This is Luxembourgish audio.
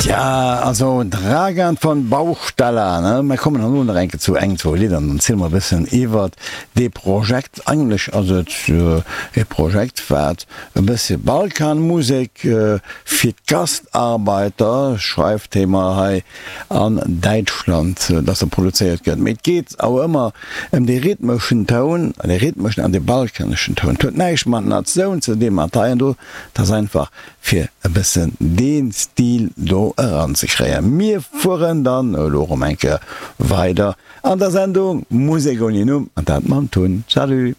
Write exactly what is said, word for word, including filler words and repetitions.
Tja, also Dragan von Bauchstaller, ne? Mir kommen elo nach eng Kéier zu eng, zwou Lidder an dann ziele mer e bëssen iwwert dee Projekt. Eigentlech ass et e Projekt, wat e bësse Balkanmusek fir d'Gastarbeiter, schreift hee mer hei, an Däitschland, dass se produzéiert gëtt. Mee et geet awer ëmmer ëm dee rhythmeschen Toun, dee rhythmeschen an dee balkaneschen Toun. Et huet näischt mat Natioun ze dinn, mat hei an do, et ass einfach fir e bëssen dee Stil do eranzekréien. Mir fueren dann elo erëm eng Kéier weider an der Sendung Musek ouni Numm, an dat mam Tun. Salut!